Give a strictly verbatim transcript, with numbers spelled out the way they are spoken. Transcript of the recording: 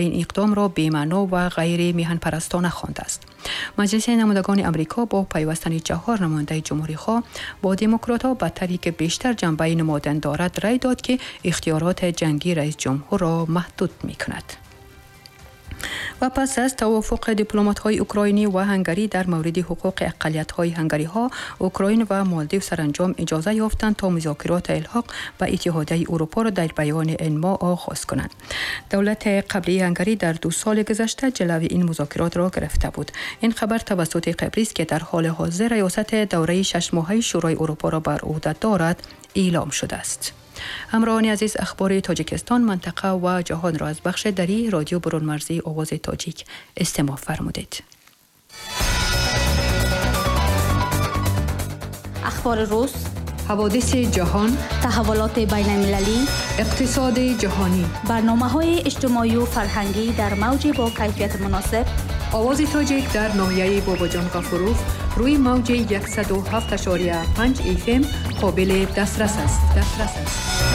ин иқдом ро бемаъно ва ғайри миҳанпарастона хондааст. Маҷлиси намояндагони Амрико бо пайвастани чаҳор намояндаи ҷумҳурихоҳ бо демократҳо ба тарҳе ки бештар ҷанбаи намодан дорад рай дод ки ихтиёроти ҷангии раис ҷумҳурро маҳдуд мекунад. Ва пас аз тавофуқи дипломатҳои украинӣ ва ҳангарӣ дар мавриди ҳуқуқи ақаллиятҳои ҳангариҳо, Украин ва Молдив саранҷом иҷоза ёфтанд то музокироти илҳоқ ба Иттиҳодияи Урупоро дар баёни ин моҳ оғоз кунанд. Давлати қаблии Ҳангарӣ дар ду соли гузашта ҷилави ин музокиротро гирифта буд. Ин хабар тавассути Қибрис, ки дар ҳоли ҳозир риёсати давраи шашмоҳаи Шӯрои Урупоро бар ӯҳда дорад, эълом шудааст. Ҳамроҳони азиз, ахбори Тоҷикистон, минтақа ва ҷаҳонро аз бахши дарии радио бурунмарзии Овози Тоҷик истимоъ фармудед. Ахбори рӯз, ҳаводиси ҷаҳон, таҳаввулоти байналмилалӣ, иқтисоди ҷаҳонӣ, барномаҳои иҷтимоию фарҳангӣ дар мавҷи бо кайфияти муносиб. Овози Тоҷик дар ноҳияи Бобоҷон Ғафуров рӯи мавҷи яксаду ҳафт ашория панҷ F M қобили дастрас аст. Дастрас аст.